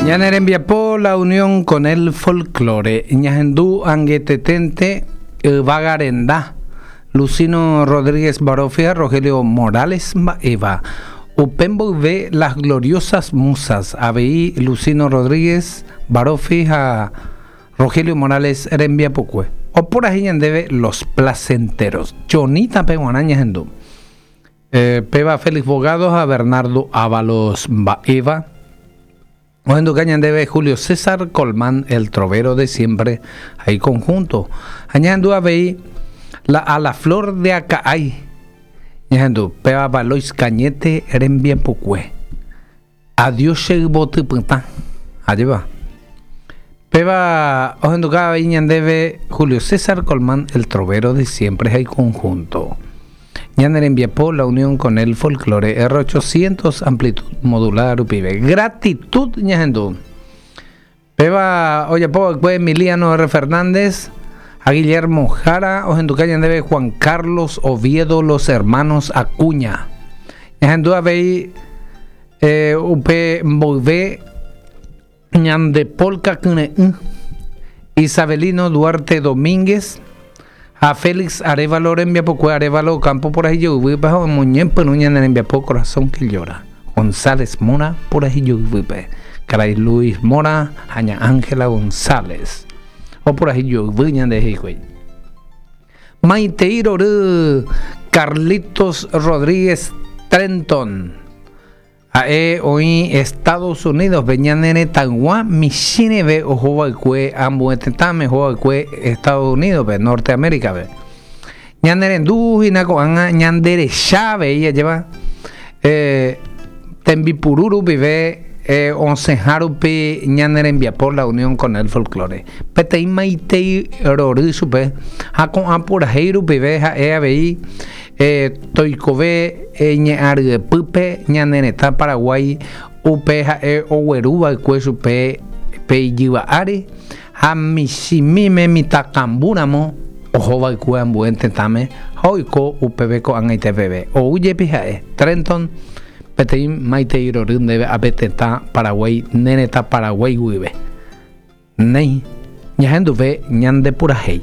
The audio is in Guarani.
Ñane rembiapo La unión con el folklore. Ñahendu angeteténte Yvága Renda, Lucino Rodríguez Barofia, Rogelio Morales mba'éva. Upe mboyve Las Gloriosas Musas, avei Lucino Rodríguez Baroffi ha Rogelio Morales rembiapokue. Oporahéi ñandéve Los Placenteros. Chonita-pe g̃uarã ñahendu. Péva Félix Bogado ha Bernardo Ávalos mba'éva. Ohenduka ñandéve Julio César Colmán, el trovero de siempre, ha iconjunto. Ha ñahendu avei la A la flor de Aca'ái. Ñahendu, péva Valois Cañete rembiapokue. Adiós che yvoty pytã. Ajépa. Péva ohenduka avei ñandéve Julio César Colmán, el trovero de siempre ha iconjunto. Ñane rembiapo La unión con el folklore R800 amplitud modulada rupive. Gratitud ñahendu. Péva ojapo va'ekue Emiliano R. Fernández ha Guillermo Jara ohenduka ñandéve Juan Carlos Oviedo Los Hermanos Acuña. Ñahendu avei eh, upe mboyve ñande polka kyre'ỹ Isabelino Duarte Domínguez ha Félix Arévalo rembiapokue Arévalo Ocampo purahéi joyvýpe ha omoñepyrũ ñane rembiapo Corazón que llora. González Mora purahéi joyvýpe. Karai Luis Mora ha ña Ángela González opurahéi joyvy ñande hikuái. Maitei rory Carlitos Rodríguez Trenton. Ha'e oĩ Estados Unidos-pe, ñane retãygua michĩreve ohova'ekue ambue tetãme, ohova'ekue Estados Unidos-pe, Norteamérica-pe. Ñane rendu hína ko'ág̃a ñande recha avei ajépa tembipuru rupive osẽha rupi ñane rembiapo La Unión con el Folklore. Peteĩ maitei rory chupe ha ko'ã purahéi rupive ha'e avei Toikove ñe'ã ryepýpe ñane retã Paraguái upe ha'e ogueru va'ekue chupe pe ijyva ári ha michĩmíme mitãkambu ramo oho va'ekue ambue tetãme ha oiko upépe ko'ag̃aite peve. Ou jepi ha'e, Trenton, peteĩ maitei rory ndéve ápe tetã Paraguái ne retã Paraguái guive. Néi, ñahenduve ñande purahéi.